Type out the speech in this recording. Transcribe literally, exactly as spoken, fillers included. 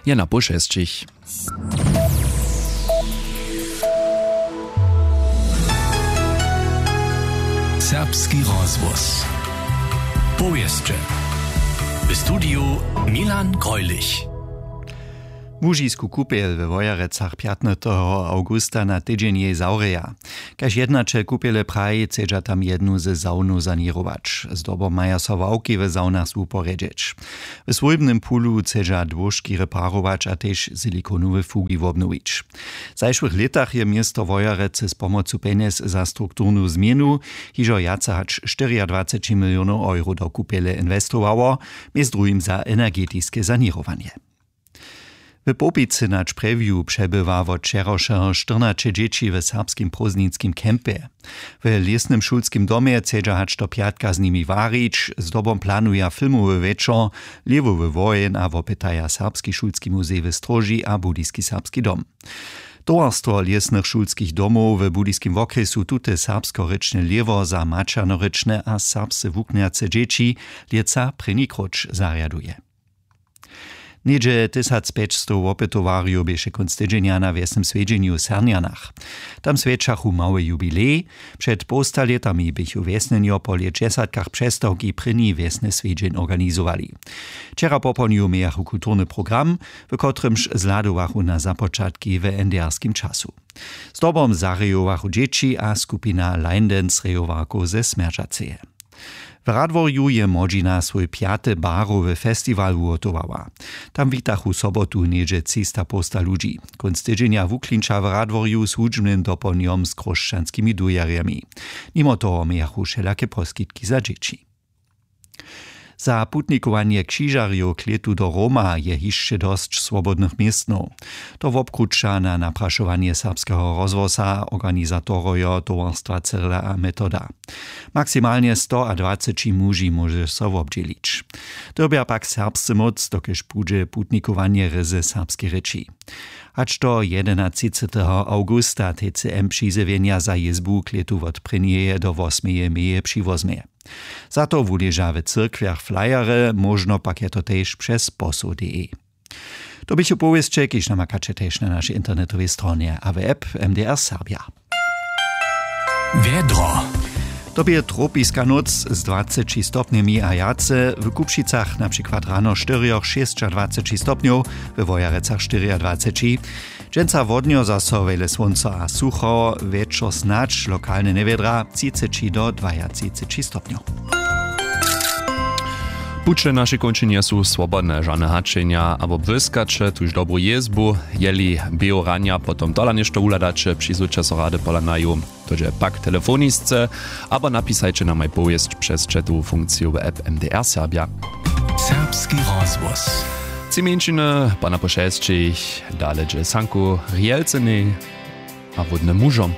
Je na poł šesćich. Serbski rozhłos. Powěsće. W studiju Milan Greulich. Łužisku kupjel we Wojerecach pjatnateho awgusta na tydźeń jej zawrěja. Kaž jednaćel kupjele praji, chcedźa tam jednu ze sawnow saněrować. Zdobom maja so ławki w sawnach wuporjedźeć. W swójbnym pulu chcedźa dłóžki reparować a tež silikonowe fugi wobnowić. W zašłych lětach je město Wojerecy z pomocu pjenjez za strukturnu změnu hižo wjace hač štyriadwaceći milionow euro do kupjele inwestowało, mjez druhim za energetiske saněrowanje. W Połpicy na Čprjewju přebywa wot wčerawšeho štyrnaće dźěći w serbskim prózdninskim campje. W lěsnym šulskim domje chcedźa hač do pjatka z nimi warić, zdobom planuja filmowy wječor, lěhwowy woheń a wopytaja Serbski šulski muzej w Stróži a Budyski serbski dom. Towarstwo lěsnych šulskich domow w Budyskim wokrjesu tute serbskorěčne lěhwo za maćernorěčne a serbsce wuknjace dźěći lětsa prěni króć zarjaduje. Něhdźe tysacpjećstow wopytowarjow běše kónc tydźenja na wjesnym swjedźenju w Sernjanach. Tam swjećachu mały jubilej. Před połsta lětami běchu wjesnjenjo po lětdźesatkach přestawki prěni wjesny swjedźeń organizowali. Wčera popołdnju mějachu kulturny program, w kotrymž zhladowachu na započatki w N D R-skim času. Zdobom zarejowachu dźěći a skupina Line Dance rejowarkow ze Smjeržaceje. W Radworju je młodźina swój pjaty barowy festiwal wuhotowała. Tam witachu sobotu něhdźe třista połsta ludźi. Kónc tydźenja wuklinča w Radworju z hudźbnym dopołdnjom z chróšćanskimi dujerjemi. Nimo toho mějachu wšelake poskitki za dźěći. Za putnikowanje křižarjow k lětu do Roma je hišće dosć swobodnych městnow. To wobkruća na naprašowanje Serbskeho rozhłosa organizatorojo towarstwa Cyrila a Metoda. Maksimalnje stoadwaceći muži móže so wobdźělić. Dyrbja pak serbsce móc, dokelž budźe putnikowanje rězy w serbskej rěči. Hač do jedenatřiceteho awgusta T C M přizjewjenja za jězbu k lětu wot prěnjeje do wosmeje meje přiwozmje. Za to wuleža w cyrkwjach flyerje, móžno pak je to tež přez posoł D E. To běchu powěsće, kiž namakaće tež na našej internetowej stronje a w app M D R Serbja. Wjedro. To bě tropiska nóc z dwaceći stopnjemi a wjace, w Kupšicach na přikład rano štyrjoch šěsćadwaceći stopnjow, we Wojerecach štyriadwaceći. Dźensa wodnjo zaso wjele słónco a sucho, wječor snadź lokalne njewjedra, třiceći do dwajatřiceći stopnjow. Puće našej kónčinje su swobodne, žane hačenja abo błyskaće tuž dobru jězbu. Jeli běhu ranja potom tola něšto wuhladaće, přizwójće so rady pola naju, to dźe pak telefonisce, abo napisajće namaj powěsć přez chatowu funkciju w app M D R Serbja. Serbski rozhłos. Tři mjeńšiny, pana po šesćich, dale dźe sanku rjelcenej a wódnym mužom.